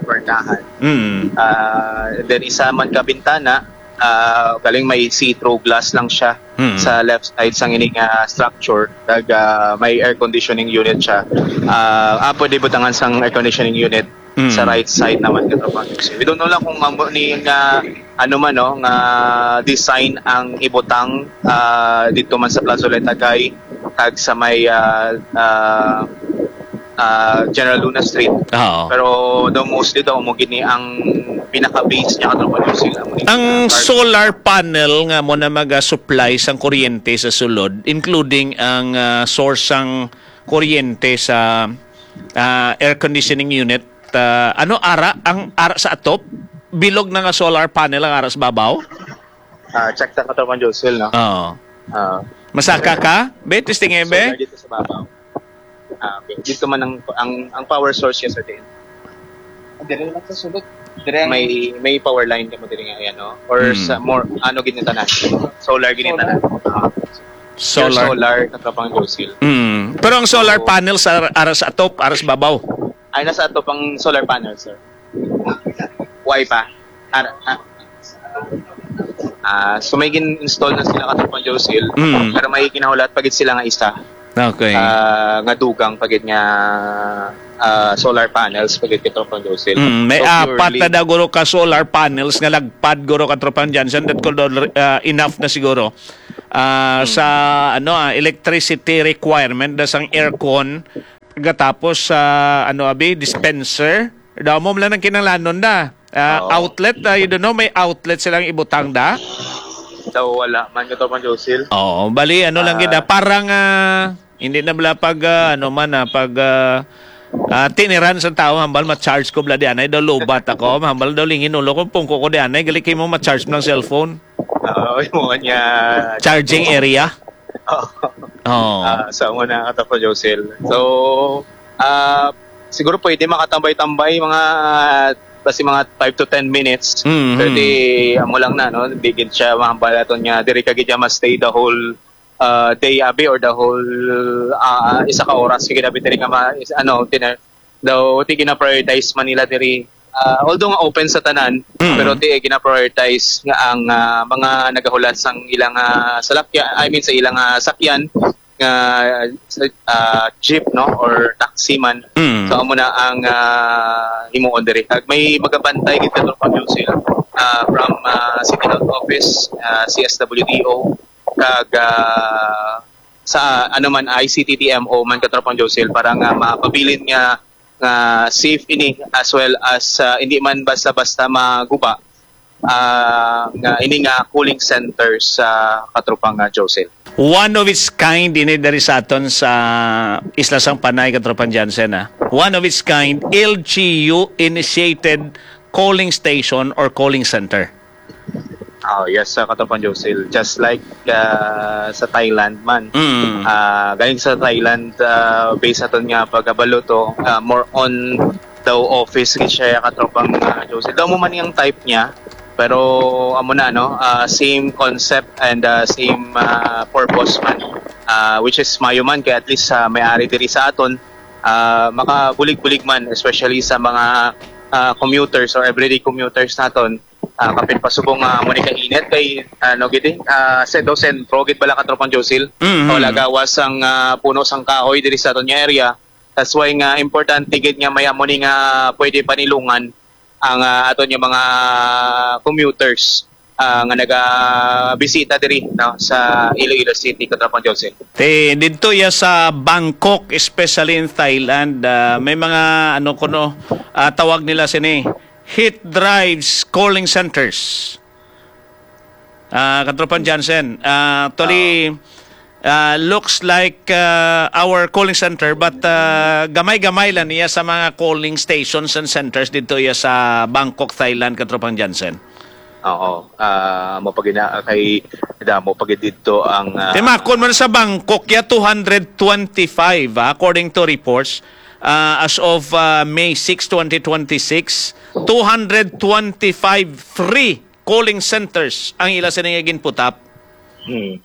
pernahan. Mm. Ah, then isa man ka bintana, ah, galing may see-through glass lang siya Mm. sa left side sang ining ah, structure. Nag ah, may air conditioning unit siya. Ah, ah, pwede butangan sang air conditioning unit Mm. sa right side naman, Katropang Josil. We don't know lang kung amo ni nga ano man, no, nga design ang ibutang ah, dito man sa Plazoleta, Guy, kag sa may ah, ah, ah, General Luna Street. Oo. Pero daw mostly daw mo gini ang pinaka-base niya, Katropang Josil. Amo ni Ang ah, solar panel nga mo na mag-supply sang kuryente sa sulod, including ang ah, source sang kuryente sa ah, air conditioning unit, ah, ano ara ang ara sa atop? Bilog na nga solar panel ang ara sa babaw? Ah, check ta, Katropang Josil, no? Oo. Ah, Masaka ka? Be, testing eh, solar be? Dito sa babaw. Ah, okay. Dito man ang, ang, ang power source niya sa diin. Dire lang sa sulod. Dire ang May may power line ka mo diri nga, yan, no? Or Hmm. sa more ano, ginitanan? Solar ginitanan. Ah. Pure Solar. Solar, Katropang Josil. Mm. Pero ang solar So, panel sa ara sa atop, ara sa babaw. Ay, nasa atop ang solar panel, sir. Why pa? Ar- ah, ah, so may gin-install na sila, Katropang Josil. Mm. Pero may ginahulat pa gid sila nga isa. Okay. Ah, nga dugang pa gid nga ah, solar panels pa gid, Katropang Josil. Mm, may So, apat purely na daw guro ka solar panels nga lagpad guro, Katropang Jansen, that could al- ah, enough na siguro ah, sa ano ah, electricity requirement da sang aircon, gatapos sa ano abi, dispenser. Daw mo lang ang kinahanglanon da. Ah, Oo. Outlet, ah, you don't know, may outlet silang ibutang da. Daw wala man, Katropang Josil. Oo, bali ano lang Ah. gid ah, parang ah, hindi na bala pag ah, ano man ah, pag ah, ah, tiniran sa tao, hambal ma-charge ko bala di anay daw, lobat ako, hambal daw lingin ulo ko, pungko ko di anay, gali kay mo ma-charge mo ng cellphone. Oo, yung mga niya. Charging area. Oh. Ah, sa una, Katropang Josil. So, ah, siguro pwede makatambay-tambay mga basi mga five to ten minutes. Mhm. Pwede, amo lang na, no? Di gid siya mahambal aton nga diri ka gid siya ma-stay the whole ah, day abi or the whole ah, isa ka oras. Sige, abi diri nga ma, is, ano, tiner, daw ti gina-prioritize man nila diri. Ah, although nga open sa tanan, Mm. pero ti gina-prioritize nga ang ah, mga nagahulat sang ilang ah, salakya, I mean sa ilang ah, sakyan nga sa- ah, jeep, no, or taxi man. Mm. So amo na ang ah, himuon diri. Kag may magabantay gid, Katropang Josil, ah, from ah, City Health Office, ah, C S W D O, kag ah, sa ano man, I C T T M O man, Katropang Josil, para nga mapabilin nga nga safe ini, as well as, ah, hindi man basta-basta maguba, ah, nga ini nga cooling center sa katropang, ah, Josel. One of its kind ini diri sa aton sa Isla sang Panay, Katropang Jansen, ah. One of its kind, L G U initiated cooling station or cooling center. Oh, yes, sa Katropang Josel. Just like, ah, sa Thailand man. Mm. Ah, galing sa Thailand, ah, based aton nga pagkabalo to, ah, more on daw office gid siya, Katropang, ah, Josel. Daw mo man yung type niya, pero amo na, no? Ah, same concept and, ah, same, ah, purpose man. Ah, which is mayo man, kay at least, ah, may ari diri sa aton, ah, makabulig-bulig man, especially sa mga, ah, commuters or everyday commuters naton. Ah, kapin pasubong nga amo ni kainit kay, ano gid eh, ah, sa daw sentro gid bala, Katropang Josil. Mhm. O lagawas ang, ah, puno sang kahoy diri sa aton nga area. That's why nga importante gid nga may amo ni nga pwede panilungan ang, ah, aton nga mga commuters, ah, nga nagabisita diri, no, sa Iloilo City, Katropang Josil. Ti, didto ya sa Bangkok, especially in Thailand, ah, may mga, ano kuno, ah, tawag nila sini, heat drives cooling centers. Ah, Katropang Jansen, ah, actually, ah, looks like, ah, our cooling center, but, ah, gamay-gamay lang niya sa mga cooling stations and centers didto ya sa Bangkok, Thailand, Katropang Jansen. Oo. Ah, mo pag ina-, kay damo pag didto ang, ah, Timakon man sa Bangkok ya, two hundred twenty-five, ah, according to reports, ah, as of, ah, May six, twenty twenty-six, two hundred twenty-five free cooling centers ang ila sini nga ginputap. Hmm.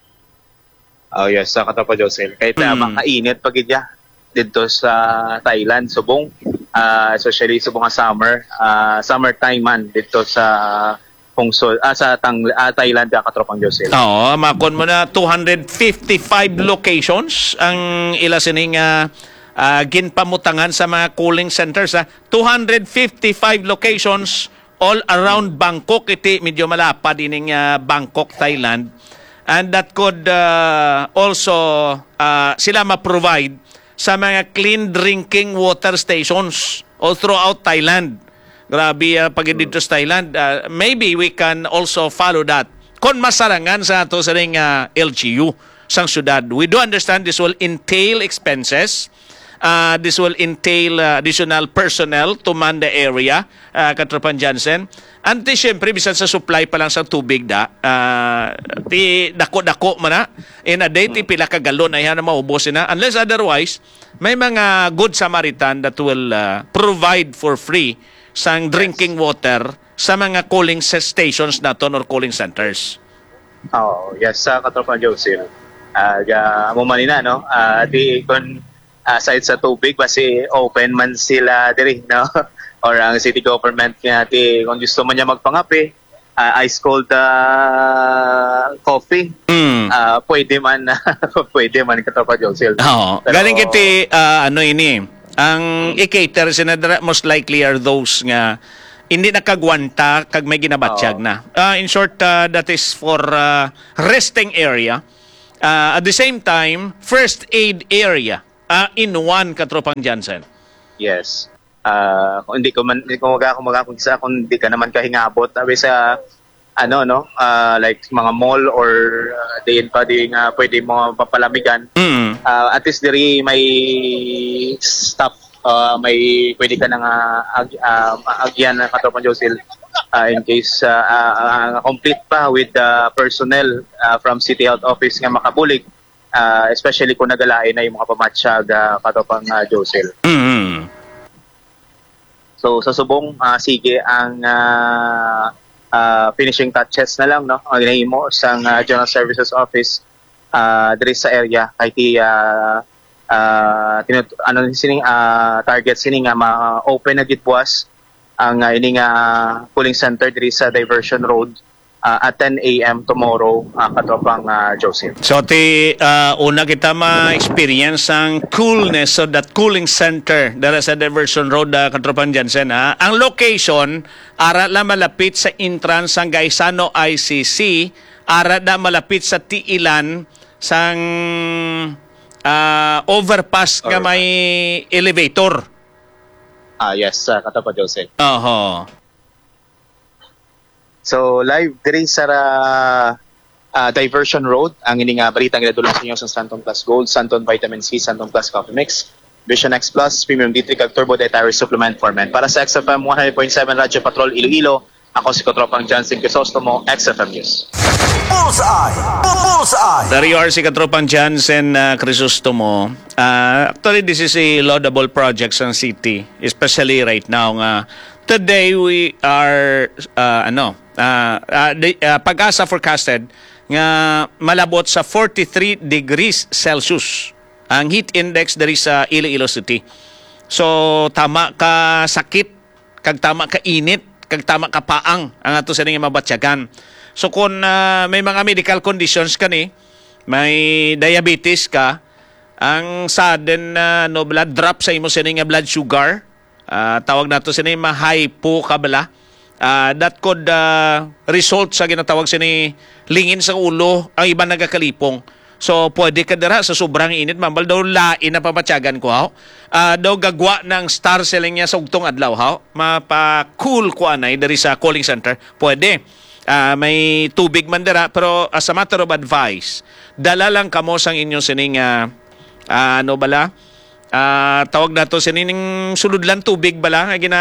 Oh, yes, sa Katropang Josel. Kahit na Mm. makainit pa gid ya didto sa Thailand, subong, ah, especially subong nga summer, ah, summertime man didto sa Pungsod, ah, sa Tang-, ah, Thailand, ka Katropang Josel. Oo, makon mo na, two hundred fifty-five locations ang ila sining, ah, ah, ginpamutangan sa mga cooling centers, ah. Two hundred fifty-five locations all around Bangkok. Iti medyo malapad ining, ah, Bangkok, Thailand. And that could, ah, also, ah, sila ma-provide sa mga clean drinking water stations all throughout Thailand. Grabe, ah, pag dito sa Thailand. Ah, maybe we can also follow that. Kung masarangan sa ato sa ring, ah, L G U sang syudad. We do understand this will entail expenses. Ah, this will entail, ah, additional personnel to man the area, ah, Katropang Jansen. Anti, siyempre, bisan sa supply pa lang sa tubig da, ah, ti dako-dako man na. In a day, ti pila ka galon ay na maubos na. Unless otherwise, may mga good Samaritan that will, ah, provide for free sang drinking water sa mga cooling sa-, stations naton or cooling centers. Oh, yes, sa Katropang Joseph. Ah, ga-, amo man ina, no? Ah, di, kung aside sa tubig, basi open man sila diri, no? Or ang city government nga, di, kung gusto man niya magpangape, ah, ice cold, ah, coffee, Mm. ah, pwede man, pwede man, Katropang Joseph. Oo. Pero Galing kiti, ah, ano ini, ang i-cater sina dira, most likely are those nga hindi nakagwanta kag may ginabatyag Oo. na. Ah, in short, ah, that is for, ah, resting area. Ah, at the same time, first aid area, ah, in one, Katropang Jansen. Yes. Ah, kung hindi ko man, hindi ko maga-, maga-, kung sa, kung di ka naman kahingabot, sabi sa, ano, no, ah, like, mga mall or, ah, diin pa di nga pwede mo mapalamigan. Mm. Ah, at least diri may staff, ah, may pwede ka na nga ag-, ah, maagyan na, Katropang Josil, ah, in case, ah, ah, ah, complete pa with the personnel, ah, from City Health Office nga makabulig, ah, especially kung nagalain na yung mga pamatsag, ah, Katropang, ah, Josil. Mm. So, sa subong, ah, sige ang, ah, ah, finishing touches na lang, no? Ang ginahimo sang, ah, General Services Office, ah, diri sa area. Kay ti, ah, ah, tinut-, ano ni sini, ah, target sini nga ma-open na gid buwas ang, ah, ini nga cooling center diri sa Diversion Road, ah, at ten A M tomorrow, ah, Katropang, ah, Joseph. So, ti, ah, una kita ma-experience ang coolness of that cooling center dara sa Diversion Road, ah, Katropang Jansen, ha? Ang location, ara lang malapit sa entrance sang Gaisano I C C, ara na malapit sa tiilan sang, ah, overpass nga Overpass. may elevator. Ah, yes, uh, Katropa Jose. Oho. So, live diri sa ah, Diversion Road, ang ini nga balita nga ginadulong sa inyo sa Santon Plus Gold, Santon Vitamin C, Santon Plus Coffee Mix, Vision X Plus, Premium D three, kag Turbo Dietary Supplement for Men. Para sa X F M one hundred point seven Radyo Patrol Iloilo, ako si Katropang Johnson Crisostomo, X F M News. Bullseye! Bullseye! There you are, si Katropang Johnson uh, Crisostomo. Uh, actually, this is a laudable project sa city, especially right now nga today we are, uh, ano, uh, uh, the, uh, PAGASA forecasted nga malabot sa forty-three degrees Celsius ang heat index diri sa Iloilo City. So, tama ka sakit, kag tama ka init, kag tama ka paang ang ato sini nga mabatyagan. So, kung ah, may mga medical conditions ka ni, may diabetes ka, ang sudden na no blood drop sa imo sini nga blood sugar, ah, tawag nato sini ma-hypo ka bala. Ah, that could ah, result sa ginatawag sini lingin sa ulo, ang iban nagakalipong. So, pwede ka dira sa sobrang init, mambal daw lain na pamatyagan ko, haw. Ah, daw gagwa ng star selling niya sa ugtong adlaw, haw. Mapa-cool ko anay diri sa cooling center. Pwede. Ah, may tubig man dira, pero as a matter of advice, dala lang kamo sang inyo sining ah, ah, ano bala? Ah, tawag nato sining sulod lang tubig bala nga gina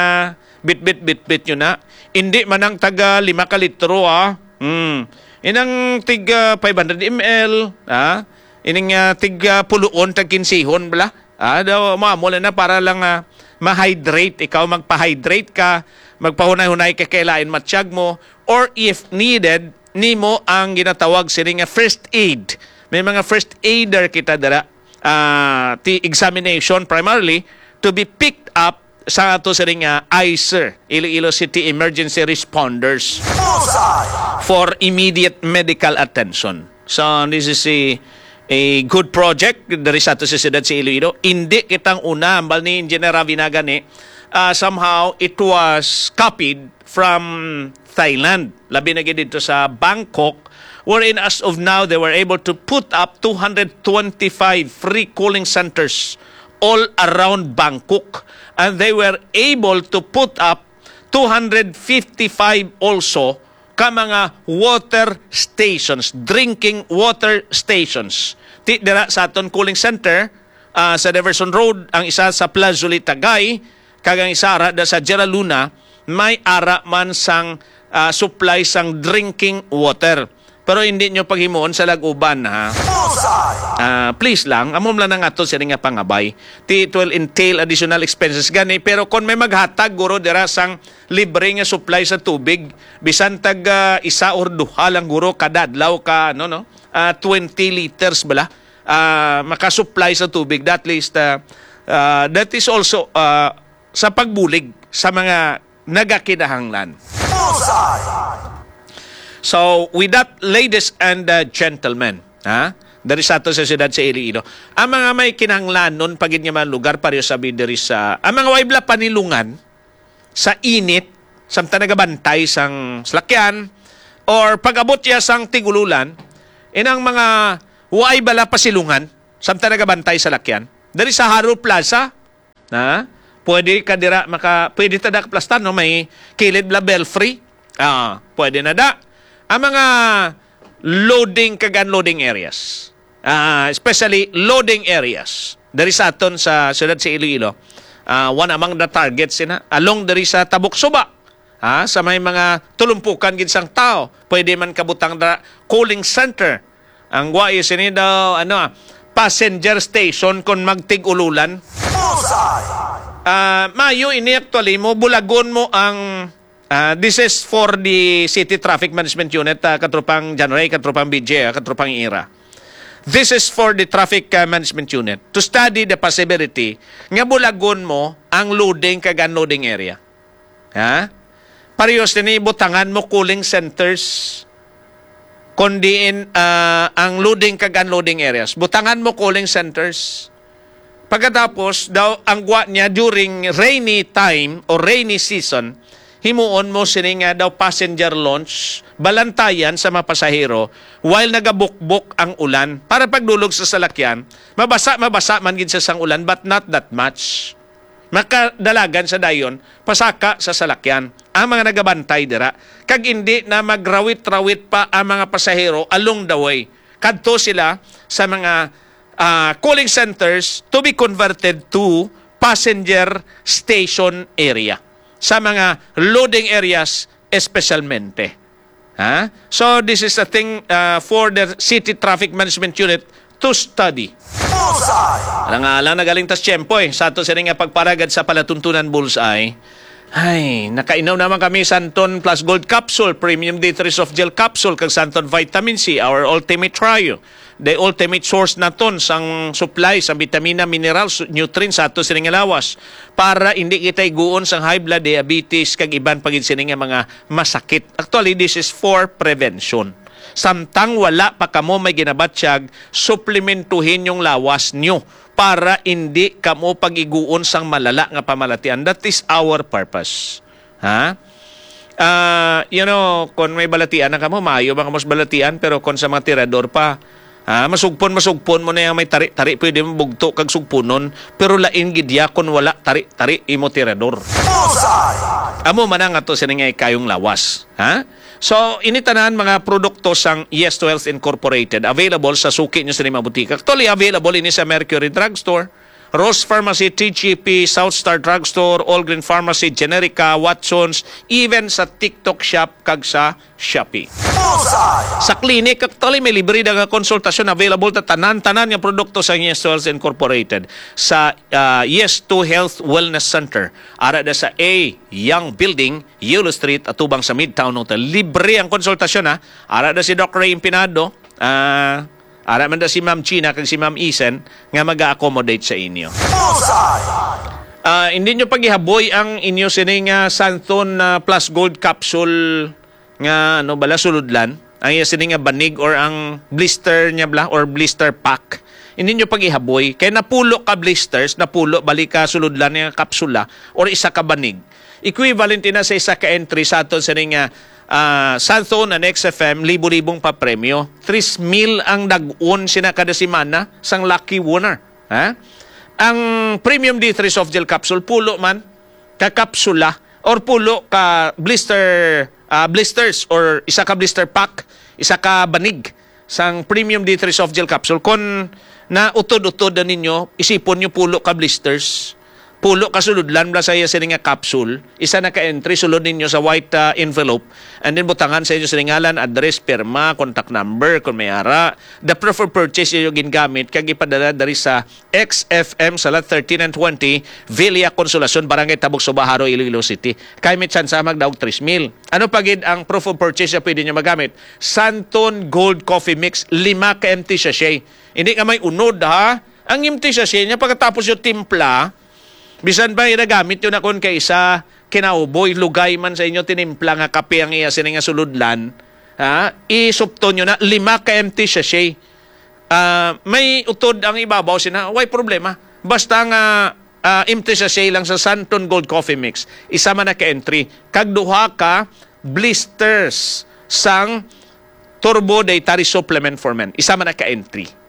bitbit bitbit nyo na. Hindi man ang taga lima ka litro, ah. Hmm. Inang tig ah, five hundred M L, ah. Ining ah, tig ah, puluon, tag kinsihon bala. Ah, daw mamo na para lang ah, ma-hydrate ikaw, magpa-hydrate ka, magpahunay-hunay ka kay lain matsyag mo, or if needed, nimo ang ginatawag sini nga first aid. May mga first aider kita dira, ah, ti examination primarily to be picked up sa ato sini nga ICER, Iloilo City Emergency Responders, Bullseye! for immediate medical attention. So, this is a, a good project diri sa ato sa siyudad sa Iloilo. Hindi kitang una, ambal ni Engineer Ravi na gani, ah, somehow it was copied from Thailand. Labi na gid dito sa Bangkok, wherein as of now, they were able to put up two hundred twenty-five free cooling centers all around Bangkok. And they were able to put up two hundred fifty-five also ka mga water stations, drinking water stations. Ti dira sa aton cooling center, ah, sa Diversion Road, ang isa sa Plazulit Tagay, kag ang isa ara da sa Jera Luna, may ara man sang ah, supply sang drinking water. Pero hindi nyo paghimuon sa lag-uban, ha? Bullseye! Ah, please lang, amo lang ang ato sini nga pangabay. Ti, it will entail additional expenses gani, pero kon may maghatag guro dira sang libre nga supply sa tubig, bisan tag ah, isa or duha lang guro kada adlaw ka, no, no? Ah, twenty liters bala. Ah, makasupply sa tubig, that least ah, ah, that is also ah, sa pagbulig sa mga nagakinahanglan. Bullseye! So, with that, ladies and uh, gentlemen, ha? Dari sa ato sa siyudad sa Iloilo, ang mga may kinahanglanon pa gid nga mga lugar, pareho sabi diri sa, ang mga way bala panilungan sa init, samtang nagabantay sang salakyan, or pag-abot niya sang tig-ululan, inang mga way bala pasilungan, samtang nagabantay sa lakyan, dari sa Harrow Plaza, na pwede ka dira maka, pwede ta da kaplastan, no? May kilid bala Belfry. Ah, pwede na da. Ang mga loading kag unloading areas. Ah, especially loading areas. Dari sa aton sa siyudad sa Iloilo. Ah, one among the targets sina along diri sa Tabok Suba. Ha, sa may mga tulumpukan gid sang tao, pwede man kabutang da cooling center. Ang gwai sini daw, ano, ah, passenger station kon magtig-ululan. Bullseye! Ah, mayo ini actually mo, bulagon mo ang ah, this is for the City Traffic Management Unit, ah, katropang John Ray, katropang B J, ah, katropang Ira. This is for the Traffic ah, Management Unit to study the possibility nga bulagon mo ang loading kag unloading area. Ha? Parehas nini, butangan mo cooling centers, kon diin ah, ang loading kag unloading areas. Butangan mo cooling centers. Pagkatapos daw, ang gwa niya during rainy time or rainy season, himuon mo sini nga daw passenger launch, balantayan sa mga pasahero while nagabukbok ang ulan para pagdulog sa salakyan. Mabasa, mabasa man gid sa sang ulan, but not that much. Makadalagan sa dayon, pasaka sa salakyan ang mga nagabantay dira, kag indi na magrawit-rawit pa ang mga pasahero along the way. Kadto sila sa mga, ah, cooling centers to be converted to passenger station area, sa mga loading areas espesyalmente. Ha? So, this is a thing, ah, for the City Traffic Management Unit to study. Bullseye! Alang-alang na galing tas tiyempo, eh, sa ato sini nga pagparagad sa palatuntunan, Bullseye. Ay, nakainom naman kami Santon Plus Gold Capsule, Premium D three Soft Gel Capsule, kag Santon Vitamin C, our ultimate trio. The ultimate source naton sang supply sa bitamina, minerals, nutrients sa ato sini nga lawas, para hindi kita iguon sang high blood, diabetes, kag iban pa gid sini nga mga masakit. Actually, this is for prevention. Samtang wala pa kamo may ginabatyag, suplementuhin yung lawas nyo para hindi kamo pag-iguon sang malala nga pamalatian. That is our purpose. Ha? Ah, you know, kung may balatian na kamo, maayo ba kamo sa balatian, pero kung sa mga tirador pa, ha, masugpon, masugpon mo na yung may tari-tari, pwede mo bugto kag sugpunon, pero lain gid ya kung wala tari-tari imo tirador. Bullseye! Amo man ang ato sini nga ikayong lawas. Ha? So, ini tanan mga produkto sang Yes to Health Incorporated, available sa suki nyo sa mga butika. Actually, available ini sa Mercury Drugstore, Rose Pharmacy, T G P, South Star Drugstore, All Green Pharmacy, Generica, Watsons, even sa TikTok Shop kag sa Shopee. Bullseye! Sa clinic, actually, may libre na nga konsultasyon available ta tanan-tanan nga produkto sa Yes to Health Incorporated sa, ah, Yes to Health Wellness Center. Ara na sa A Young Building, Yellow Street, atubang sa Midtown Hotel. Libre ang konsultasyon, ha. Ara na si Doc Ray Impinado, ah, ara man na si Ma'am Gina kag si Ma'am Isen nga mag-accommodate sa inyo. Bullseye! Ah, hindi nyo pagihaboy ang inyo sini nga Santon, ah, Plus Gold Capsule nga, ano bala, sulodlan. Ang iya sini nga banig or ang blister niya bala or blister pack. Hindi nyo pagihaboy. Kay napulo ka blisters, napulo bali ka sulodlan nga kapsula or isa ka banig. Equivalent ina sa isa ka entry sa aton sini nga, ah, Santon and X F M, libo-libong papremyo. Tris mil ang dag-on sina kada semana sang lucky winner. Ha? Ang Premium D three Soft Gel Capsule, pulo man ka kapsula or pulo ka blister, ah, blisters or isa ka blister pack, isa ka banig sang Premium D three Soft Gel Capsule. Kon nautod-utod na ninyo, isipon nyo pulo ka blisters, pulo ka sulodlan bala sa iya sini nga capsule, isa na ka entry, sulod ninyo sa white, ah, envelope, and then butangan sa inyo sini ngalan, address, pirma, contact number, kung may ara, the proof of purchase inyo gingamit, kag ipadala diri sa X F M sa Lot thirteen and twenty, Villa Consolacion, Barangay Tabok, Suba, Jaro, Iloilo City. Kay may tsansa magdaog tris mil. Ano pa gid ang proof of purchase na pwede nyo magamit? Santon Gold Coffee Mix, lima ka empty sachet. Hindi ka may unod, ha? Ang empty sachet niya, pagkatapos yung timpla, bisan pa ginagamit yun akon kay isa, kinauboy, lugay man sa inyo, tinimpla nga kape ang iya sini nga suludlan, ha? Isupto nyo na, lima ka empty sachet. Ah, may utod ang ibabaw sina, way problema. Basta nga, ah, empty sachet lang sa Santon Gold Coffee Mix. Isa man na ka entry. Kag duha ka blisters sang Turbo Dietary Supplement for Men. Isa man na ka entry.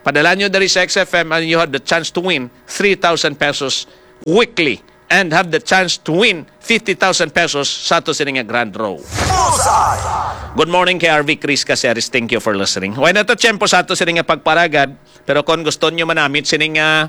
Padala nyo diri sa X F M and you have the chance to win three thousand pesos weekly and have the chance to win fifty thousand pesos sa ato sini nga grand draw. Bullseye! Good morning kay R V Chris Caceres. Thank you for listening. Way na to tiyempo sa ato sini nga pagparagad. Pero kung gusto nyo manamit sini nga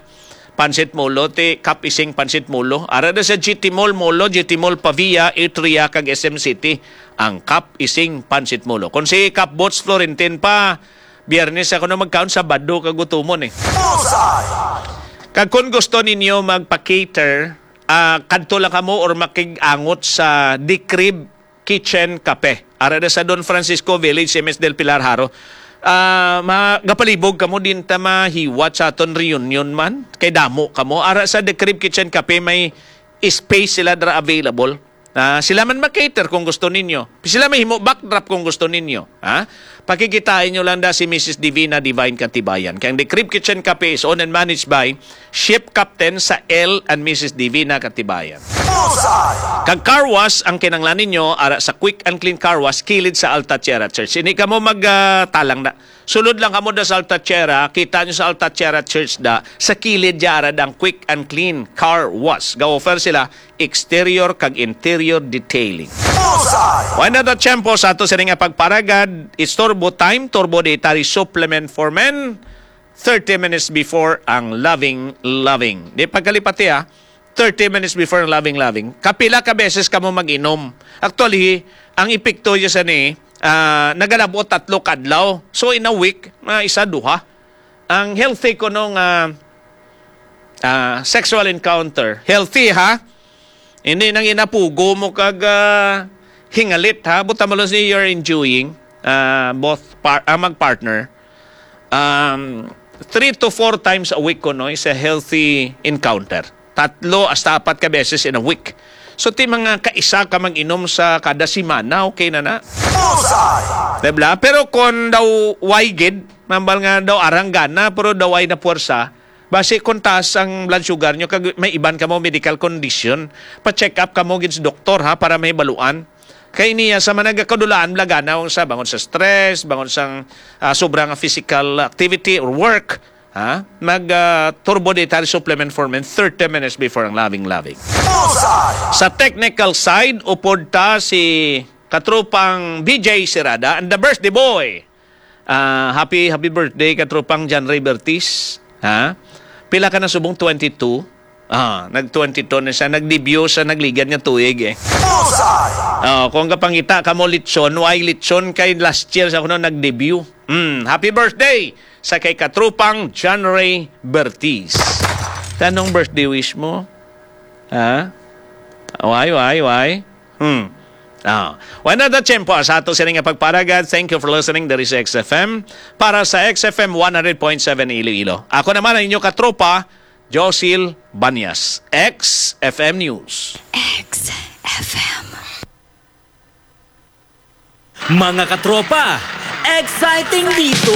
pansit mulo, ti Kap Ising Pansit Mulo. Ara na sa G T Mall Mulo, G T Mall Pavia, Atria, kag S M City, ang Kap Ising Pansit Mulo. Kung si Kap Bots Florentin pa, Biyernes ako na magkaon, Sabado kagutumon eh. Bullseye! Kag kung gusto ninyo magpa-cater, ah, kadto lang kamo or makig-angot sa The Crib Kitchen Cafe. Ara na sa Don Francisco Village, M S Del Pilar, Jaro. Ah, ma-, gapalibog kamo, din ta mahiwat sa aton reunion man. Kay damo kamo. Ara sa The Crib Kitchen Cafe, may space sila dra available. Ah, sila man mag-cater kung gusto ninyo. Sila may himo backdrop kung gusto ninyo. Ha? Pakikitain nyo lang da si Missus Divina Divine Katibayan. Kay ang The Crib Kitchen Cafe is owned and managed by Ship Captain Sael and Missus Divina Katibayan. Kag car wash ang kinahanglan ninyo ara sa Quick and Clean Car Wash kilid sa Alta Tierra Church. Hindi kamo mag, ah, talang na. Sulod lang kamo da sa Alta Tierra, kita nyo sa Alta Tierra Church da, sa kilid ya ara dang Quick and Clean Car Wash. Ga-offer sila exterior kag interior detailing. Bullseye! Wala na tiyempo sa ato sini nga pagparagad, istorbo time, Turbo Dietary Supplement for Men, thirty minutes before ang Loving Loving. Di pagkalipati, ha, thirty minutes before ang Loving Loving. Kapila ka beses kamo mag-inom? Actually, ang epekto niya sa ni, ah, nagalabot tatlo kadlaw. So, in a week, mga isa, duha. Ang healthy ko nung, ah, ah, sexual encounter. Healthy, ha? Hindi nang inapugo mo kag, ah, hingalit, ha? Buta mo lang siya, you're enjoying, ah, both par-, ah, mag-partner. Um, three to four times a week ko, no, is a healthy encounter. Tatlo hasta apat ka beses in a week. So, ti mga kaisa ka mag-inom sa kada semana, okay na na. Bullseye! Diba? Pero kung daw way gid, nambal nga daw arang gana, pero daw way na puwersa, basi kung taas ang blood sugar nyo, kag may iban kamo medical condition, pa-check up kamo gid sa doktor, ha, para may baluan. Kay niya sa managakadulaan, lagana sa bangon sa stress, bangon sang, ah, sobra nga physical activity or work, ha? Mag, ah, Turbo Dietary Supplement for Men thirty minutes before ang Loving Loving. Bullseye! Sa technical side, upod ta si katropang B J Sirada and the birthday boy. Ah, happy, happy birthday, katropang John Ray Bertis. Ha? Pila ka na subong? Twenty-two? Ah, nag-twenty-two na siya. Nag-debut sa nagligad nga tuig, eh. Bullseye! Oh, kung kapangita ka mo litson, why litson kay last year sa kuno nag-debut? Hmm, happy birthday sa kay katropang John Ray Bertis. Tanong birthday wish mo? Ha? Why, why, why? Hmm. Ah. Wala na tiyempo sa ato sini nga pagparagad. Thank you for listening. There is X F M. Para sa X F M one hundred point seven Iloilo, ako naman ang inyo katropa, Josil Banyas, X F M News. X F M. Mga katropa, exciting dito!